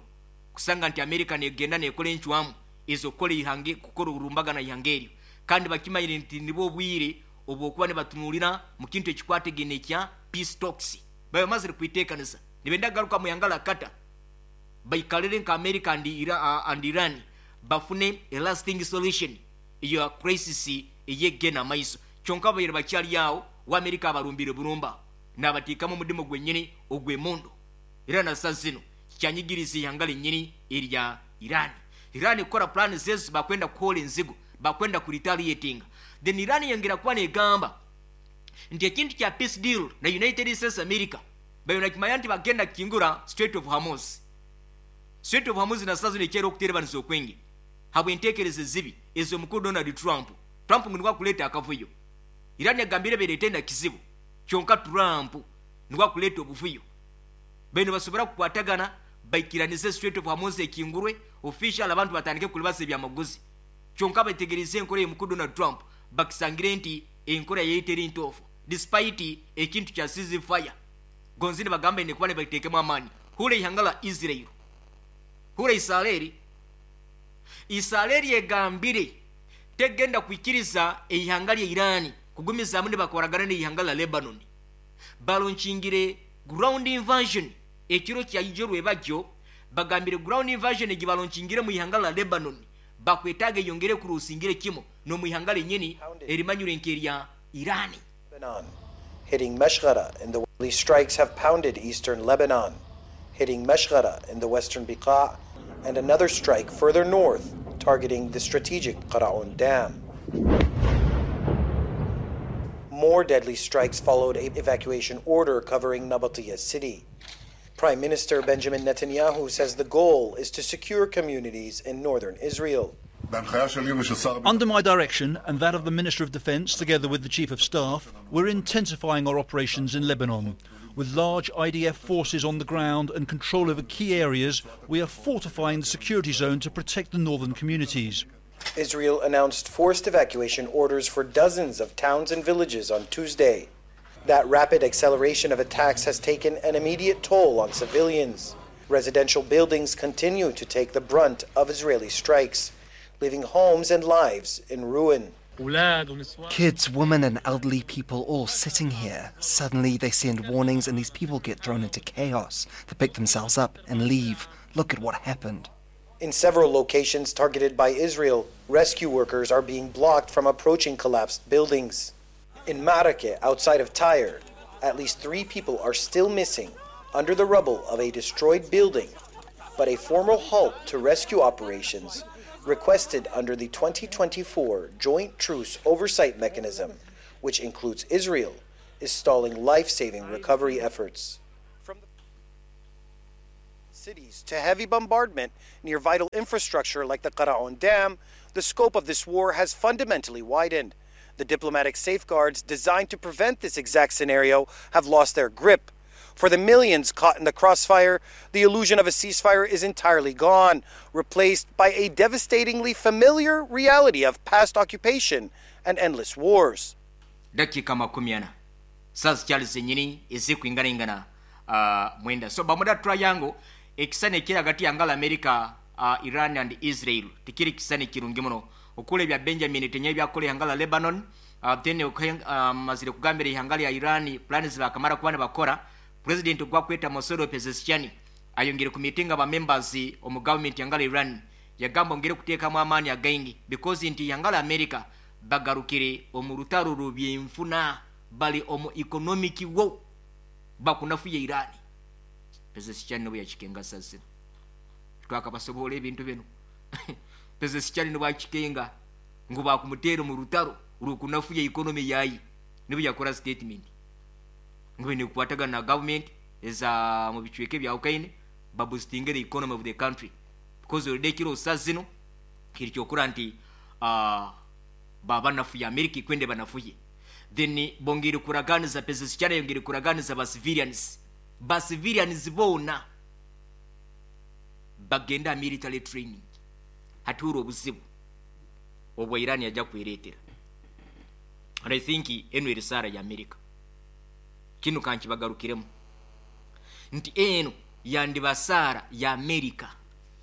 kusanga nti America negenda nekola encwamu ezokukora ihange kukora orurumbagana ihanga eryo, kandi bakimanyire nti nibwo obwire obwokuba nibatunulira mu kintu ekikwategene ekya peace talks. Babamazire kwitekanisa nibenda garuka mu ihanga la Qatar baikalire nka America and Iran bafune a lasting solution eya crisis eyegena amaiso. Kyonka baire bakyali awo wa America abarumbire burumba nabateekamu omudimu gwenyini ogw'emundu. Era na saa zino kikyanyigiriza ihanga lenyini erya Iran. Iran kukora plan zezo bakwenda kuhola enzigo, bakwenda kuretaliatinga. Then Iran yongera kuba negamba nti ekintu kya peace deal na United States America bayo nakimanya nti bagenda kukingura Strait of Hormuz. Strait of Hormuz na saa zino ekyera okuterebaniza okwenge habw'enteekereza ezibi ez'omukuru Donald Trump. Trump ngu niwe akuleeta akavuyo. Iran yagambire bereete na kizibu, kyonka Trump niwe akuleeta obuvuyo. Bano basobora kukwatagana baikiranize Strait of Hormuz ekingurwe official abantu batandike kulibasa ebyamaguzi. Kyonka bategereze enkora y'omukuru Donald Trump bakisangire nti enkora yeyiteri ntoofu despite ekintu kya ceasefire. Gonzini bagamba ine kuba nibateekemu amaani. Hura ihanga la Israel, hura Israeli. Israeli egambire tegenda kwikiriza eihanga lya Iran kugumizaamu nibakoragana n'eihanga la Lebanon. Balonchingire ground invasion ekiro kya ijo rwebajyo. Bagambire ground invasion egi balonchingire mu ihanga la Lebanon bakwetaaga eyongere kurusingire kimo n'omu ihanga lenyini erimanyire nk'erya Iran. Lebanon, hitting Meshghara in the strikes have pounded eastern Lebanon, hitting Meshghara in the western Biqa, and another strike further north targeting the strategic Qaraoun Dam. More deadly strikes followed a evacuation order covering Nabatieh city. Prime Minister Benjamin Netanyahu says the goal is to secure communities in northern Israel. Under my direction and that of the Minister of Defence, together with the Chief of Staff, we're intensifying our operations in Lebanon. With large IDF forces on the ground and control over key areas, we are fortifying the security zone to protect the northern communities. Israel announced forced evacuation orders for dozens of towns and villages on Tuesday. That rapid acceleration of attacks has taken an immediate toll on civilians. Residential buildings continue to take the brunt of Israeli strikes, leaving homes and lives in ruin. Kids, women and elderly people all sitting here. Suddenly they send warnings and these people get thrown into chaos. They pick themselves up and leave. Look at what happened. In several locations targeted by Israel, rescue workers are being blocked from approaching collapsed buildings. In Maarakeh, outside of Tyre, at least 3 people are still missing under the rubble of a destroyed building But a formal halt to rescue operations requested under the 2024 Joint Truce Oversight Mechanism, which includes Israel, is stalling life saving recovery efforts. From the cities to heavy bombardment near vital infrastructure like the Qaraoun Dam, the scope of this war has fundamentally widened. The diplomatic safeguards designed to prevent this exact scenario have lost their grip. For the millions caught in the crossfire, the illusion of a ceasefire is entirely gone, replaced by a devastatingly familiar reality of past occupation and endless wars. Dakika 40 saa zikyali zenyini ezikuinganaingana 9. So Bermuda Triangle, ekisani ekiri hagati yangala America, Iran and Israel tikiri kisani kirungi muno. Okula ebya Benjamin Netanyahu byakola ihanga la Lebanon, then mazire kugambira ihanga lya Iran plans bakamara kuba nibakora. President gwakweta Masoud Pezeshkian ayongere ku meeting aba members omu government yangala Iran, yagamba ongere kuteekamu amaani againgi because nti yangala America bagarukire omu rutaro rw'ebyenfuna, bali omu economic war, bakunafuye Iran. Pezeshkian nibwe yakikenga sazino twakabasobola ebintu bino. Pezeshkian nibwe akikenga ngu bakumuteera omu rutaro rukunafuye economy yayi, nibwe yakora statement ngu nikukwatagana na government eza mu bicweka ebya Ukraine baboostinge the economy of the country, because already kiro sazino kiri kyokura nti babanafuye America ikwende banafuye. Then bongere kuraganiza, Pezeshkian yongere kuraganiza ba civilians, ba civilians bona bagenda military training. Haturo obuzibu obwa Iran yajja kwereetera. And I think eno eri saara ya America, kino kankibagarukiremu nti eno yandiba saara ya America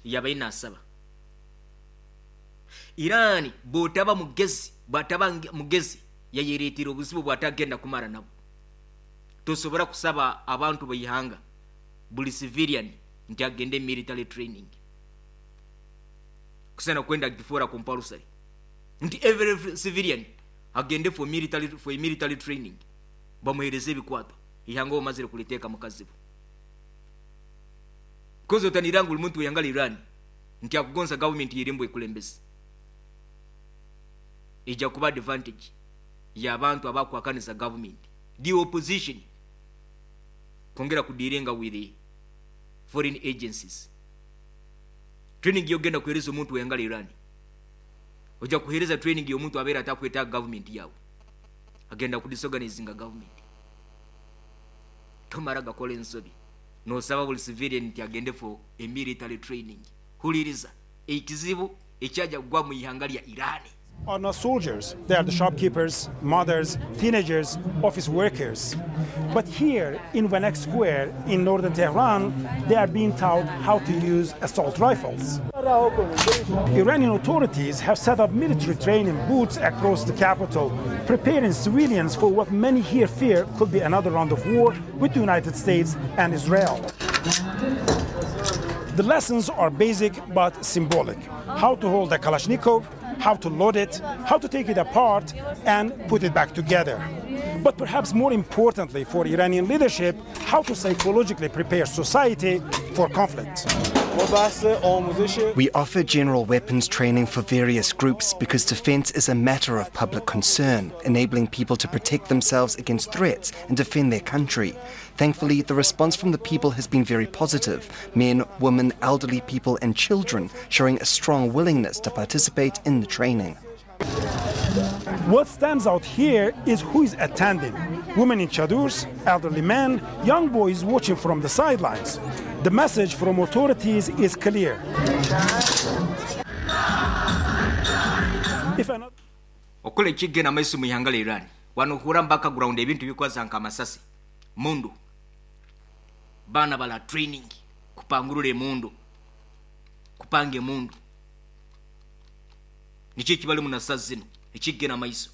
yabaina asaba Iran bw'otaba mugezi, bw'ataba mugezi yayereetera obuzibu bw'atagenda kumara nabo. Tosobola kusaba abantu b'eihanga buli civilian nti agende military training kusana kwenda gifuura compulsory nti every civilian agende for military training, bamuhereze ebikwato ihanga omazire kuliteeka mu kazibu. Kozi otaniranga buli muntu weyangala Iran nti akugonza government yerimbo ekulembeze, ejja kuba advantage y'abantu abakwakaniza government, the opposition kwongera kudealinga with the foreign agencies. Training yogenda kuhereza omuntu weyangala Iran, ojja kuhereza training y'omuntu abeera atakwetaaga government yawe, agenda kudisorganizinga government. Tomara gakola ensobi nosaba buli civilian nti agende for a military training. Huliriza ekizibu ekyajja kugwa mu ihanga lya Iran. Are not soldiers. They are the shopkeepers, mothers, teenagers, office workers. But here in Vanak Square in northern Tehran, they are being taught how to use assault rifles. Iranian authorities have set up military training booths across the capital, preparing civilians for what many here fear could be another round of war with the United States and Israel. The lessons are basic but symbolic. How to hold a Kalashnikov, how to load it, how to take it apart and put it back together. But perhaps more importantly for Iranian leadership, how to psychologically prepare society for conflict. We offer general weapons training for various groups because defense is a matter of public concern, enabling people to protect themselves against threats and defend their country. Thankfully, the response from the people has been very positive. Men, women, elderly people and children showing a strong willingness to participate in the training. What stands out here is who is attending. Women in chadors, elderly men, young boys watching from the sidelines. The message from authorities is clear. If another Okola ekigenda maiso mu ihanga lya Iran, wano hura mpaka ground ebintu bikwaza nka amasasi mundu bana bala training kupangurura emundu, kupanga emundu, nikyo ekibali mu nasa zino ekigenda maiso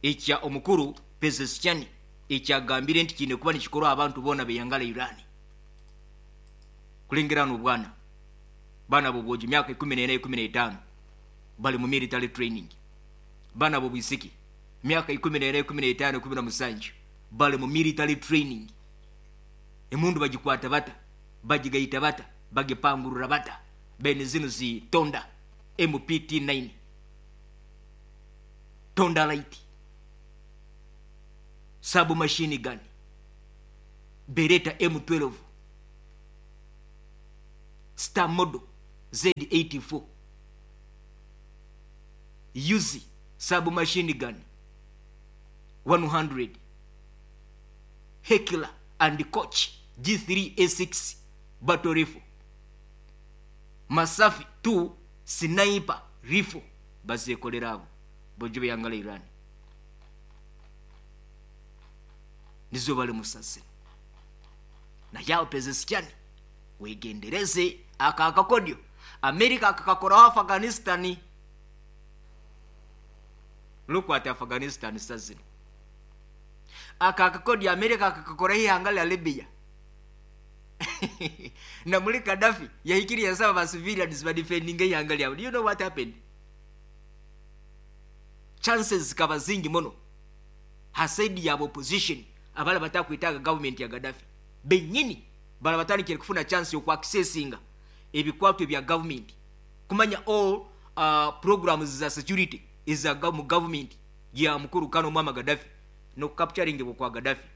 ekya omukuru Pezeshkian ekyagambire nti kiine kuba nikikorwa abantu boona beyangala Iran kulengera n'obwana bana bobwogi myaka 14 15 bali mu military training, bana bobwisiki myaka 14 15 17 bali mu military training. Emundu bagikwata bata, bagigaita bata, Bagipangurura bata bene zino zi Tonda MPT-9 Tonda Light submachine gun, Beretta M12, Star Model Z84, Uzi submachine gun 100, Heckler and Koch G3A6 battle rifle, Masafi 2 sniper rifle. Bazekolera abo bojo beyangala Iran nizo bali musazi naye Pezeshkian wegendereze aka akakodyo Amerika akakakora Afghanistan. Look at Afghanistan sazino. Aka akakodyo Amerika akakakora ihanga la Libya. Na muri Gaddafi yahikiriye yasaba ba civilians ba defending ihanga lyabo. Do you know what happened? Chances kaba zingi mono hasaidi ya opposition abala batakwitaga government ya Gaddafi benyini bala batandikire kufuna chance yo accessinga ebikwato bya government, kumanya all programs za security iza mu government ya mukuru kano mama Gaddafi no capturing kwa Gaddafi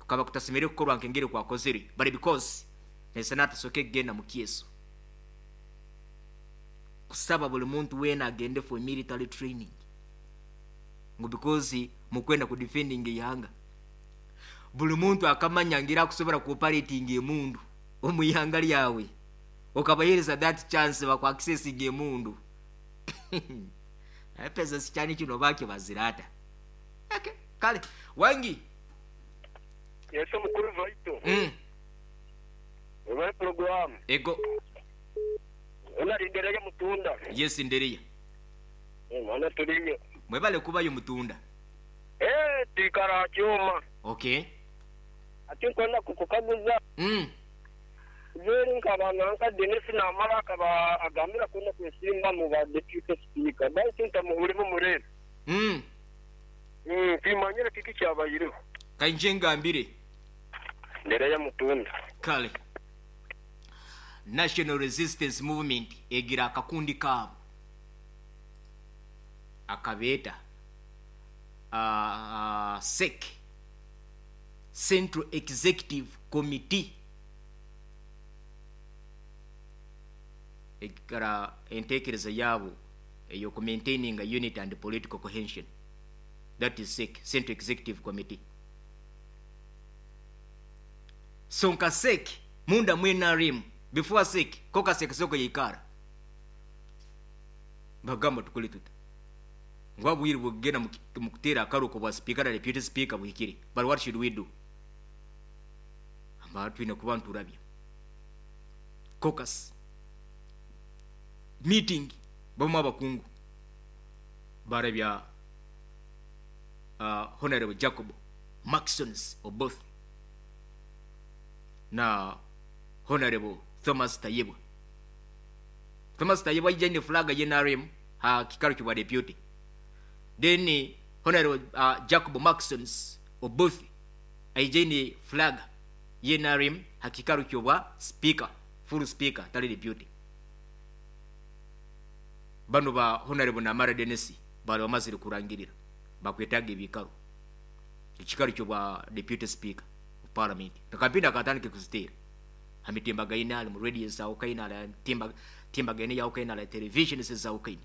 kaba kutasemere kukorwa nkengere kwa kozere, but because nesenata soke genda mu kieso kusaba buli muntu wena agende for military training ngo because mukwenda ku defending yanga buli muntu akamanya ngira kusobora ku operating emundu omuyanga lyawe okabahereza that chance bakwa accessing emundu. Pesa sichani kino bake bazirata. Okay, kale wangi yeso mukuru vaito Oba program ego ona ndereye mutunda. Yes ndereye mwana tuliyo mwebale kubayo mutunda tikara chuma. Okay, ati nkona kukukaguza Zeri nkaba nanka Dennis Namara akaba agambira kuna kwesimba mu ba deputy speaker baitu ntamuhulimo murebe kimanyire kiki kyabayireho kainje ngambire ndereye mutunda. Kale National Resistance Movement egira akakundi kabo akabeta SEC, Central Executive Committee, ekara entekereza yabo eyo maintaining a unit and political cohesion. That is SEC, Central Executive Committee. So nka SEC munda mwena rim before SEC koka SEC soko yikara bagamba tukuli tuta ngwabwiri bugena mukutera akaruko bwa speaker na deputy speaker buhikire, but what should we do? Amba twine kubantu rabya caucus meeting bamu abakungu barabya Honorable Jacob Maxons Oboth na Honorable Thomas Tayebwa. Thomas Tayebwa yijane flag ya NRM ha kikaro kibwa deputy. Then Honorable Jacob Maxons Oboth aijane flag ya NRM ha kikaro kibwa speaker, full speaker tali deputy. Bano ba Honorable Namara Dennis bali bamazire kurangirira bakwetaga ebikaro ekikaro kibwa deputy speaker of parliament. Takapinda katandike kuzitera amitimba gaina ali mu radio za Ukaina ala timba gaina ya Ukaina ala television za Ukaina.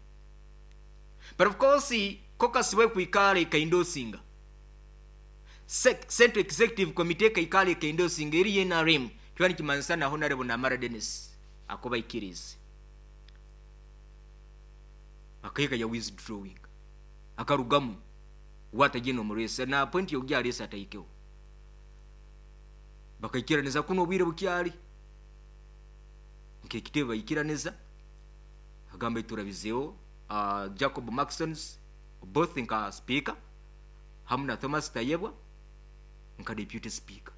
But of course caucus we kuikale kaindosinga Central Executive Committee kaikale kaindosinga eri NRM kiwani kimansana Honorable Namara Dennis akoba ikirize akayika ya withdrawing akarugamu watagino murese na point yo gyalesa ataikeho bakaikiraneza kuno obwire bukyali nkekitebe bayikiraneza agamba iturabizeho Jacob Maxons both nka speaker hamwe na Thomas Tayebwa nka deputy speaker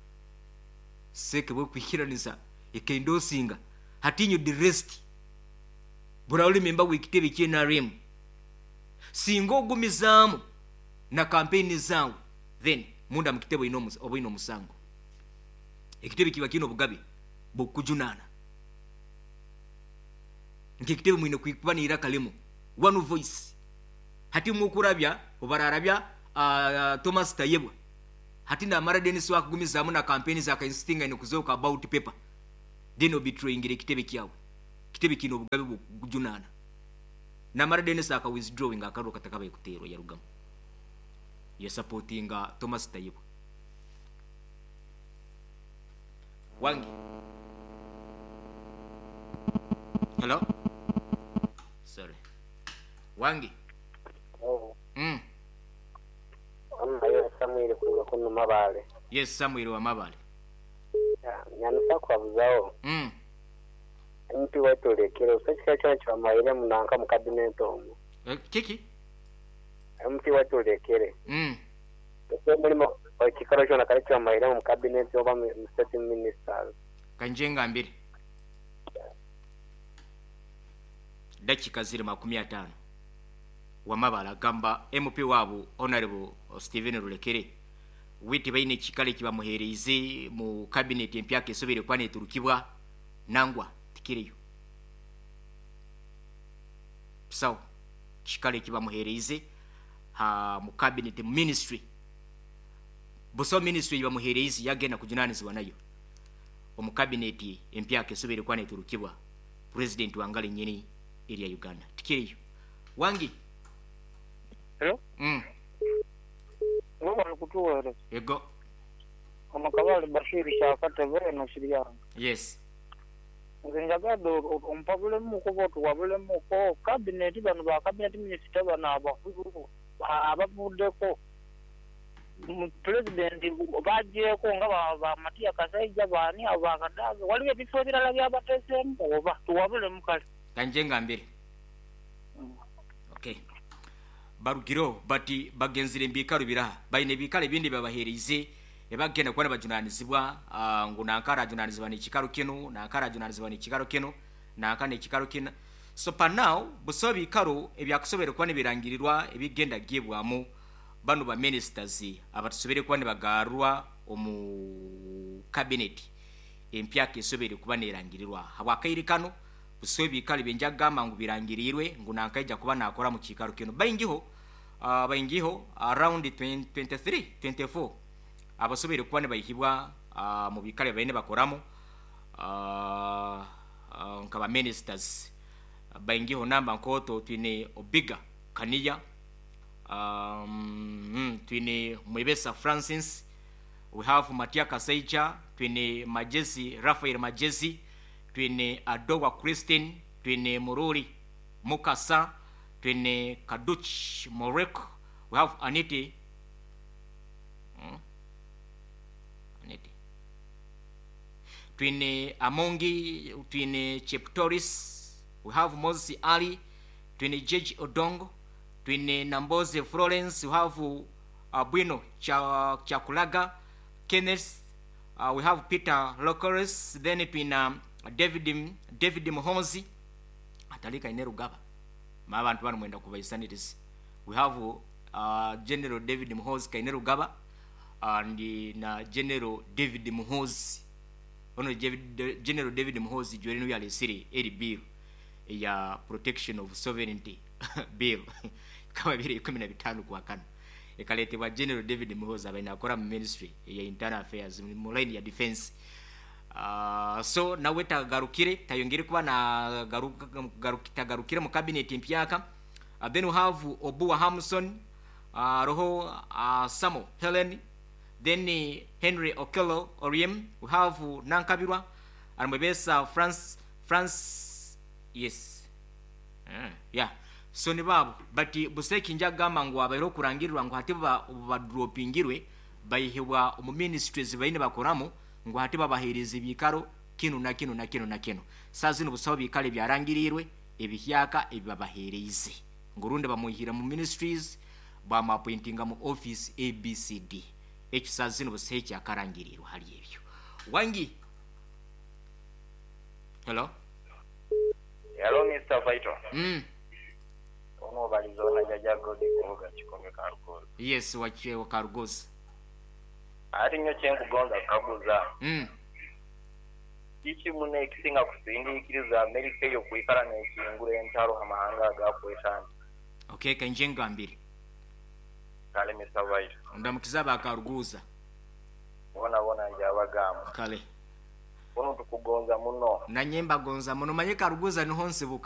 seke bwe kwikiraneza ekendosinga hatinyo the rest bura member w'ekitebe kye NRM singa ogumizaamu na campaign zawe then munda mukitebo ino omusango ekitebe kiba kino bugabe bukujunana. Nk'ekitebe mwine kuba n'iraka limu, one voice. Hati mukurabya obararabya Thomas Tayebwa hati namara Denis wakugumizaamu na campaign za kainsistinga ine kuzoka about paper, then obetrayingire ekitebe kyawe. Kitebe kino obugabe bwokujunana. Namara Denis aka withdrawing akaruru katakabaye kuteerwa yarugamu yasupportinga Thomas Tayebwa. Wangi. Hello? Sorry. Wangi. Oh. Amayo Samuel kuruga kuno Mabale. Yes, Samuel wa Mabale. Nyanusa kwabuzaho. MP wetulekere usakika kyona kyamaire munanka mu cabinet omwo. Kiki? MP wetulekere. Mulimo ekikaro kyona kale kyamaire mu cabinet oba mu state ministers. Kanjenga mbiri. Dakika ziri 50. Wamabala gamba MP wabo Honorable Stephen Rulekere witi baine kikale kibamuhereize mu cabinet empya kesobere kwane turukibwa nangwa tikireyo. So kikale kibamuhereize ha mu cabinet ministry. Buso ministry bamuhereize yagenda kujunanizibwa nayo. Omu cabinet empya kesobere kwane turukibwa president wangale nyini area Uganda. Tikireyo. Wangi. Hello? Ngoba nikutuwere. Ego. Amakabali Bashiri kyakate beno Shiryanga. Yes. Nze njagadde ompabulemu otuwabulemuko cabinet bano ba cabinet minister bano abakulu abavuddeko president bagyeko nga ba Matia Kasaija baani abo bakadaaga waliwo ebifo ebirala byabateeseemu oba tuwabulemu kale. Kanjenga mbere. Okay. Barugiro bati bagenzire mbikaro biraha baine bikale bindi babahereize ebagenda kuba bajunanizibwa ngu nankara ajunanizibwa n'ekikaro kino nankara ajunanizibwa n'ekikaro kino nanka n'ekikaro kino. So pa now buso bikaro ebyakusobere kuba nibirangirirwa ebigenda gibwamu bano ba ministers abatusobere kuba nibagarwa omu cabinet empya kesobere kuba nerangirirwa habwakaire kano buso bikale benjagamba ngu birangirirwe ngu nankaija kuba nakora mu kikaro kino baingiho around 23 24 abasobere kuba nibayihibwa mu bikale baine bakoramo nkaba ministers baingiho namba nkoto twine Obiga Kaniya, twine Mwebesa Francis, we have Matia Kasaija, twine Majezi Rafael Majezi, twine Adowa Christine, twine Mururi Mukasa, twine Kaduch Morek, we have Aniti Aniti, twine Amongi, twine Cheptoris, we have Moses Ali, twine Jeji Odongo, twine Namboze Florence, we have Bwino Chakulaga Kenneth, we have Peter Lokeres, then twine David Muhoozi atalika Inerugaba mabantu bano mwenda kubaisaniriza. We have General David Muhoozi Kainerugaba and na General David Muhoozi ono General David Muhoozi jwerinu yalesire eri bill ya protection of sovereignty bill kama 2015 kwa kano ekaletebwa General David Muhoozi abaina akora mu ministry ya internal affairs mu line ya defense. So nawe tagarukire tayongere kuba na tagarukire mu cabinet empyaka. Then we have Obua Hamson, roho Samo Helen, then Henry Okello Oriem, we have Nankabirwa Armwebesa France yes yeah. So ni babo but buseki njagamba ngu abairo kurangirirwa ngu hati badropingirwe bayihibwa mu ministries baine bakoramo ngu hati babahereza ibikaro kino na kino na kino na kino. Sazi n'ubusabo bikale byarangirirwe ebihyaka ebibabahereize ngurunde bamuhira mu ministries bamapointinga mu office ABCD. Ekyo sazi n'ubusabo kyakarangirirwa hali ebyo. Wangi. Hello. Hello Mr. Vital. Ono balizona jaja godi kuvuga chikonge karugozi. Yes, wache karugozi. Ati nyo chenkugonza kaguza. Kiki muno ekisinga kusindiikiriza Amerika eyo kwikara n'ekingura entaro ha mahanga agakwetanga? Okay, kainje ngambire. Kale, Mr. Vaito. Ndamukiza bakaruguza. Bona bona njabagamba. Kale. Kuno tukugonza muno. Nanye mbagonza muno, manye Karuguza niho nsibuka.